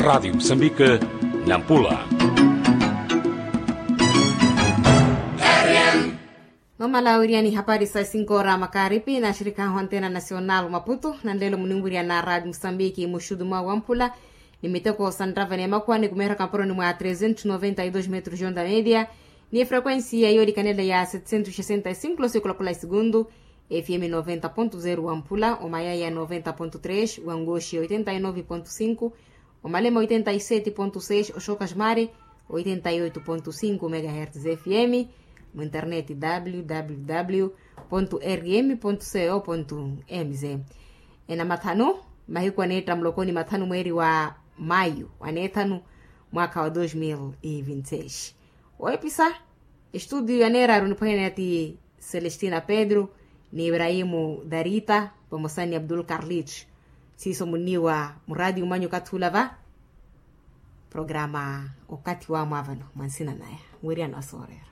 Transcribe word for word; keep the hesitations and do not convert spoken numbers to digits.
Radiyo musambike, nampula. Nomala wiriani hapari sa sinkoora makaripi na shirikaho antena nasional maputo nanlelo muninwiriana radiyo musambike muxudu mwa wamphula, ni miteko sa nrava ni emakhuwa ni kumeeraka mporoni mwa trezentos noventa e dos metros de onda media, ni efrequensia yoolikanela ya setecentos sesenta e cinco losikola kula esegundu, fm noventa ponto zero wamphula omayaya noventa ponto tres wangoxi oitenta e nove ponto cinco, omalema oitenta e sete ponto seis oxoka xmari, oitenta e oito ponto cinco megahertz fm, mu internet www rm co mz. Enamathanu, mahiku aneetta mulokoni mathanu mweeri wa mayu aneethanu, mwaka wa dos mil e vinti seis. Oepisa estudio yaneeraru niphwanyana ti celestina pedro, ni ibrahimu darita, pamosa ni abdul carlit. Siiso muniwa muradi umanyu kathula va programa okathi wa mwavano mwansina naya. Wiriano asoorera.